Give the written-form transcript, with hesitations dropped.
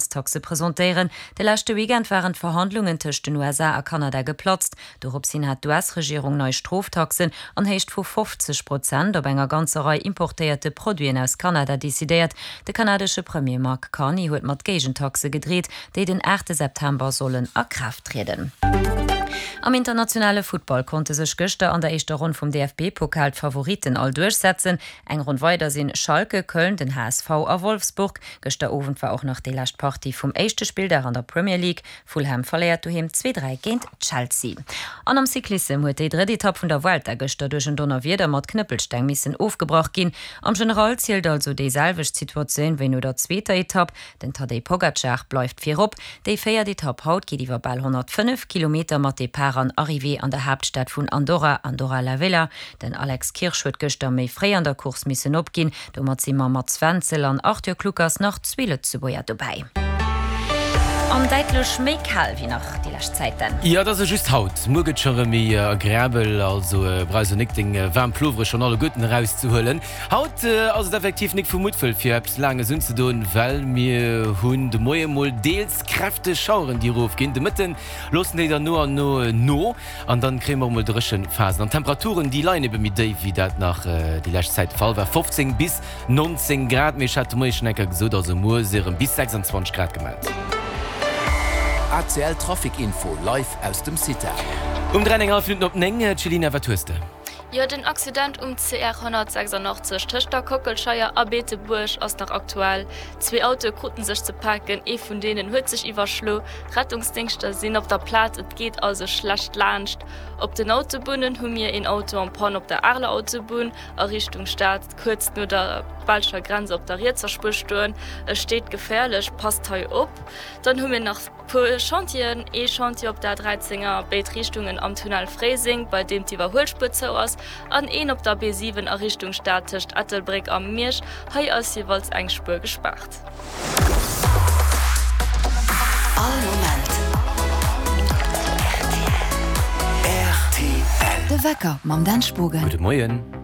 Grenztaxe presentéieren. De leschte Weekend waren d'Verhandlungen tëscht den USA a Kanada geplatzt. Dorops hin hat d'US-Regierung nei Stroftaxen an Héicht vu 50 Prozent op enger ganzer Rei importéierte Produiten aus Kanada decidéiert. De kanadesche Premier Mark Carney huet mat Géigentaxe gedreet, déi den 8 September sollen a Kraaft trieden. Am internationale Futtball konnte sech gëschter an der éischter Ronn vum DFB-Pokal d'Favoritten all duerchsetzen. Eng Ronn weider sinn Schalke, Köln, den HSV a Wolfsburg. Gëschter Owend war och nach déi lescht Partie vum éischte Spilldag an der Premier League. Fulham verléiert doheem 2, 3 géint Chelsea. An am Cyclissem huet déi drëtt Etapp vun der Vuelta gëschter duerch en Donnerwieder mat Knëppelsteng missen ofgebrach ginn. Am General zielt also déi selwecht Situatioun wéi no der zweeter Etapp. Den Tadej Pogacar bleift virop. Déi véiert Etapp haut geet iwwer bal 105 Kilometer mat Depart an Arrivée an der Haaptstad vun Andorra, Andorra la Vella. Den Alex Kirsch huet gëschter méi fréi an der Course missen opginn. Domat si mam Mats Wenzel an Arthur Kluckers nach zwee Lëtzebuerger dobäi. An däitlech méi kal wéi nach déi lescht Zäiten. Jo, et ass e just haut. Muer gëtt scho rëm méi agreabel, also brauchs och nik deng waarm Plovere schonn alleguerten erauszehuelen. Haut ass et effektiv nik vu Muttwëll fir eppes Laanges unzedoen, well mir hunn de Moie mol deels kräfteg Schaueren déi erofginn. De Mëtten loossen déi dann no an no no. An dann kréie mer och mol dréchen Phasen. An d'Temperaturen déi leien ebe méi déif wéi dat nach déi lescht Zäit de Fall war, 15 bis 19 Grad. Mee ech hat de Moie schonn eng Kéier gesot, also muer si erëm bis 26 Grad gemellt. ACL Trafic Info live aus dem CITA. Um 3 an eng hallef Minutten op 9, Céline, wat hues de? Jo, den Accident um CR 186 tëscht der Kockelscheier a Beetebuerg ass nach aktuell. Zwee Autoe kruten sech ze paken, ee vun deenen huet sech iwwerschlo. Rettungsdéngschter sinn op der Plaz, et geet also schlecht laanscht. Op den Autobunnen hu mir een Auto en panne op der Areler Autobunn a Richtung Stad, kuerz no der belscher Grenz op der rietser Spuer stoen. E steet geféierlech, passt hei op. Dann hu mir nach puer Chantieren, ee Chantier op der A13 a béid Richtungen am Tunnel Fréiseng, bei deem d'Iwwerhuelspuer zou ass, an een op der B7 a Richtung Stad tëscht Ettelbréck a Miersch, hei ass jeeweils eng Spuer gespaart. All Moment rtl. De Wecker mam Dan Spogen. Gudde Moien.